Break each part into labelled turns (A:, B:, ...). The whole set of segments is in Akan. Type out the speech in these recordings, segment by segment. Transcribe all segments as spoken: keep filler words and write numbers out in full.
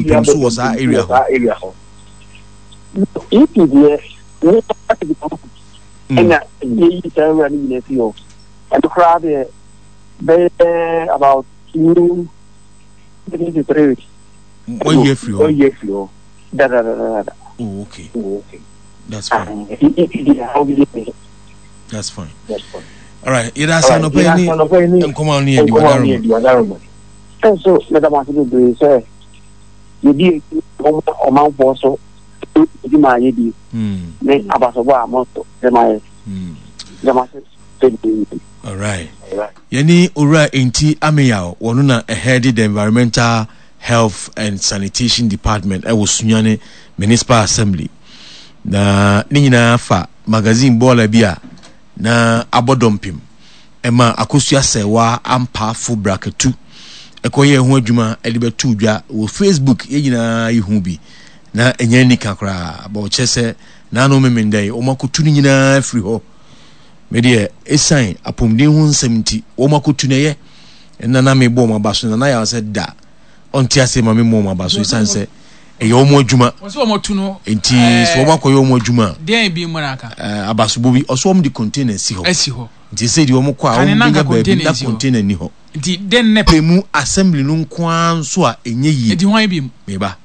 A: Dɔmpem so wɔ saa area hɔ.
B: E P deɛ ne ɛna yɛyi saa wura no nyinaa fi hɔ. Ɛno koraa deɛ, bɛyɛ about two three to three weeks.
A: Wɔyi afiri hɔ.
B: Wɔyi afiri hɔ dadadadada.
A: Oh, okay.
B: Oh, okay.
A: That's fine.
B: E P deɛ, how bi yɛ.
A: That's fine. All right, yɛda ase anɔpa yi ne nkɔmɔ a ne yɛ di wadaroma.
B: Ɛnso mɛda mo ase bebree sɛ yɛdi akyi ɔmanfoɔ so adwuma a yɛdi ne abasobɔ a mo nso de ma yɛ. Meda mo ase bebree.
A: All right, yɛne Owura Enti Ameyaw, wɔno na ɛhead the Environmental Health and Sanitation Department ɛwɔ Sunyane Municipal Assembly, na ne nyinaa fa magazine bɔɔla bi a na abɔ dɔmpem ɛma Akosua Sɛwa Ampaafo Brakatu ɛkɔyɛ ho adwuma ɛde bɛto dwa wɔ Facebook. Yɛn nyinaa yɛhu bi na ɛnyɛ nika koraa bɔ ɔkyerɛ sɛ naano memenda yi wɔn akotu no nyinaa firi hɔ. Medeɛ, ɛsiane apɔmuden ho nsɛm nti wɔn akotu no ɛyɛ ɛna na mebɔ wɔn aba so na na yɛ sɛ da ɔnte ase ma memmɔ wɔn aba so, ɛsiane sɛ ɛyɛ wɔn adwuma.
C: Wɔsɛ wɔn tu no.
A: Nti sɛ wɔn akɔyɛ wɔn adwuma a
C: deɛn bi mu na aka?
A: ɛɛ abasobɔ bi ɔso wɔn de container si hɔ.
C: Asi hɔ.
A: Nti sɛ deɛ wɔn kɔ a
C: Kane
A: wɔn
C: na
A: bɛnya
C: nka
A: baabi
C: container
A: na
C: nsi hɔ.
A: Container ni hɔ.
C: Nti den ne
A: pɛ mu assembly no nko ara nso a ɛnyɛ yie.
C: Nti hwan bi mu?
A: Meba,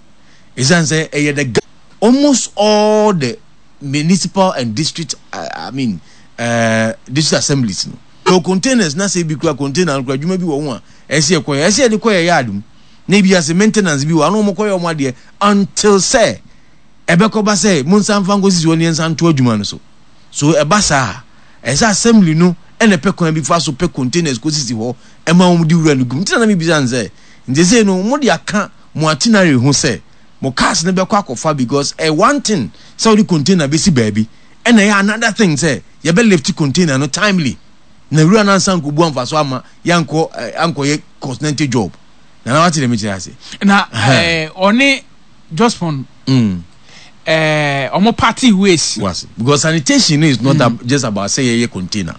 A: ɛsiane sɛ ɛyɛ the almost all the municipal and district, uh, I mean, uh, district assemblies no so containers na sɛ ebi kura container no kura adwuma bi wɔ ho a ɛsɛ yɛ kɔyɛ, ɛsɛ yɛde kɔyɛ yard mu na ebi ase maintenance bi wɔ ano, wɔn kɔyɛ wɔn adeɛ until sɛ ɛbɛkɔba sɛ mo nsa nfa nkɔsisi hɔ ne yɛn nsa nto adwuma no so. So ɛba saa, ɛsɛ assembly no ɛna pɛ kwan bi fa so pɛ containers kɔsisi hɔ ɛma wɔn de wura no gum. Nti na na mi bisa nsɛ nti sɛ no mo de aka mo itinerary ho sɛ mo cars no bɛkɔ akɔfa, because ɛ one thing sɛ wɔde container bɛsi baabi, ɛna ɛyɛ another thing sɛ yɛbɛ lift container no timely na wura no ansa nkɔbu amfa so ama yɛankɔ ɛ ankɔyɛ continental job na na wate dɛm kyerɛ ase.
C: Na ɛɛ ɔne Jospong
A: Mm.
C: ɛɛ ɔmo party ways.
A: Was because sanitation no is not mm. just about sɛ yɛyɛ container.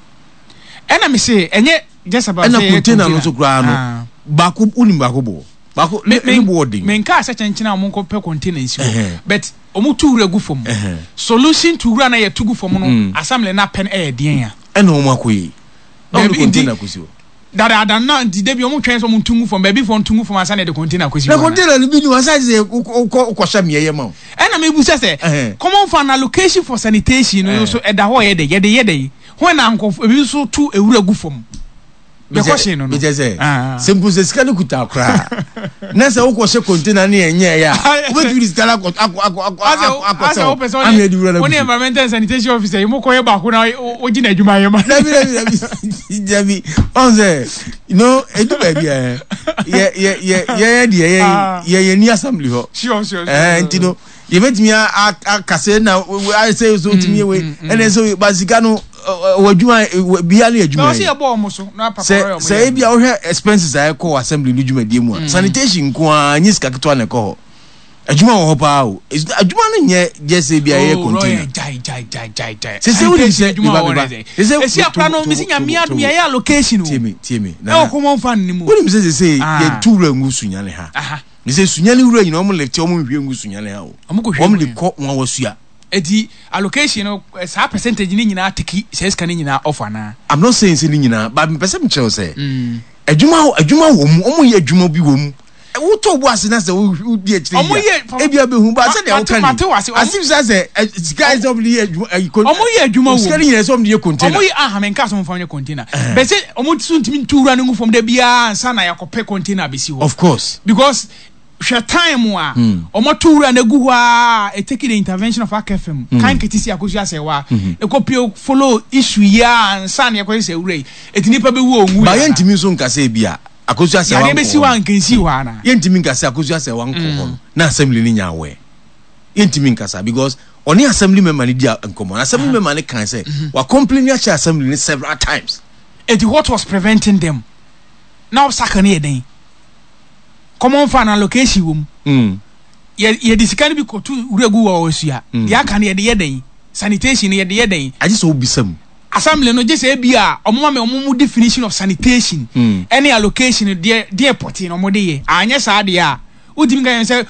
C: Ɛna mi se ɛnyɛ just about
A: ɛna
C: sɛ yɛyɛ
A: container no nso koraa no
C: Ah.
A: baako, wonim baako bɔ baako ne
C: me
A: ne bo ɔden.
C: Me nka sɛ kyɛnkyɛn a ɔmo nkɔ pɛ container nsi hɔ,
A: Ɛhɛn.
C: but ɔmo tu wura gu fam.
A: Ɛhɛn.
C: Solution to wura na yɛ tu gu fam no,
A: Mm.
C: assembly na pɛ no ɛyɛ deɛn a?
A: Ɛna wɔn akɔ yi na wɔn de
C: Dabi, nti-
A: container kɔsi hɔ.
C: Dadaada na nti debi ɔmo twɛn sɛ ɔmo ntu gu fam baabi fɔ ntu gu fam ansa na yɛde container kɔsi
A: Na
C: hɔ ana?
A: Container no bi ni wɔn asan sɛ wokɔ wokɔhyɛ mmeɛ yɛ ma o.
C: Ɛna mebusa sɛ
A: Ɛhɛn.
C: common fund allocation for sanitation no
A: Ɛhɛn.
C: nso ɛda hɔ, yɛ dɛ yɛde yɛ dɛ hɔn na nkɔfo ebi nso tu ewura gu fam. The question no no.
A: Mekyɛ sɛ
C: Ah.
A: sɛ mpo sɛ sika no kuta koraa na sɛ wokɔhyɛ container ne ɛnyɛ yɛ a, wobɛtumi de sika no akɔ akɔ akɔ akɔ
C: asɛ
A: akɔ
C: asɛ wopɛ sɛ
A: sɛ ama adi wura no
C: ɔne
A: agu so.
C: Environmental and sanitation officer yi mo kɔyɛ baako na wogye n'adwuma yɛ ma.
A: Dabi, dabi, dabi, dabi. Ɔn sɛ you know edu baabi a yɛ yɛ yɛ yɛ deɛ yɛ
C: Ah.
A: yɛ yɛ ni assembly hɔ.
C: sure sure sure
A: Ɛɛ nti no yɛbɛtumi akasɛ na ayɛ sɛ so tumi yɛ wei ɛna sɛ ba sika no wɔ adwuma bia ne
C: na
A: adwuma
C: ɔsɛ
A: yi
C: yɛbɔ ɔmo so na papa
A: sɛ
C: ɔyɛ ɔmo
A: sɛ
C: yɛ.
A: ebi a wohwɛ expenses a ɛkɔ wɔ assembly no dwumadie mu a, sanitation nko ara nye sika ketewa na ɛkɔ hɔ. Adwuma wɔ hɔ paa o. It's- adwuma no nyɛ gye sɛ bi a ɛyɛ
C: Oh,
A: container.
C: Royal, jai jai jai jai jai.
A: Sɛ sɛ wonim sɛ
C: Adwuma
A: meba,
C: wɔ
A: meba.
C: hɔ
A: Sɛ sɛ
C: esi akora no
A: to-
C: mesi
A: to-
C: Nyame
A: to-
C: adom yɛyɛ allocation o
A: tie me, tie me.
C: Ɛwɔ common fund ni mu.
A: Wonim sɛ sɛ sɛ
C: Ah.
A: yɛntu wura ngu Sunyane ha.
C: Aha.
A: Ne sɛ Sunyane wura nyina ɔmo lifte, ɔmo nhwie ngu Sunyane ha o.
C: Ɔmo kɔ hwie
A: Ɔmo
C: gu
A: de
C: yɛn.
A: kɔ wɔn awasua.
C: Eti allocation no, eh, saa percentage ne nyinaa take sɛ sika ne nyinaa off anaa?
A: I'm not saying sɛ ne nyinaa, but mpɛ sɛ mekyerɛ wo sɛ adwuma adwuma wɔ mu, ɔmo yɛ adwuma bi wɔ mu. Wotɔ bo ase na sɛ wodi akyire
C: Ɔmo
A: yi
C: yɛ-
A: a, ebi abɛhu ba sɛdeɛ
C: Mate-
A: woka
C: mate
A: ni
C: wase, ɔmo-
A: asim sɛ sɛ ɛ, sika sɛ ɔmo de yɛ adwuma ɛyi kon-
C: Ɔmo yɛ adwuma wɔ
A: sika
C: mu.
A: no nyinaa sɛ ɔmo de yɛ container.
C: Ɔmo yɛ aha, menka sɛ ɔmo fa nyɛ container bɛ sɛ ɔmo so ntumi ntu wura no ngu fam da biara ansa na yɛakɔpɛ container abɛsi hɔ.
A: Of course.
C: Because hwɛ time a ɔmo to wura no agu hɔ a, it take the intervention of A K F M kan kete si Akosua Sɛwa ɛkɔ follow issue yi a ansa na yɛkɔyɛ sɛ wura yi eti nipa bɛwu onwu.
A: Ba yɛntumi nso nka sɛ ebi a Akosua sɛ
C: yadeɛ
A: wankɔ
C: bɛsi hɔ
A: hɔ
C: a nkansi hɔ ana?
A: Yɛntumi nka sɛ Akosua sɛ wankɔ hɔ no na assembly no nya awɛ. Yɛntumi nkasa because ɔne assembly member no di a- nkɔmmɔ na assembly member no kan sɛ wa complain akyerɛ assembly no several times.
C: Eti what was preventing them na obstacle no yɛ den? Common fund allocation wɔ mu.
A: mm.
C: yɛ yɛde sika no bi kɔto wura gu wɔ ɔsua deɛ aka no, yɛde yɛ dɛn? Sanitation no, yɛde yɛ dɛn?
A: Agye sɛ wobisa mu.
C: Assembly no gye sɛ ebi a ɔmo ma mi ɔmo mu definition of sanitation
A: Mm.
C: ɛne allocation deɛ deɛ pɔtee na ɔmo de yɛ. Anyɛ saa deɛ a, wotumi ka yɛn sɛ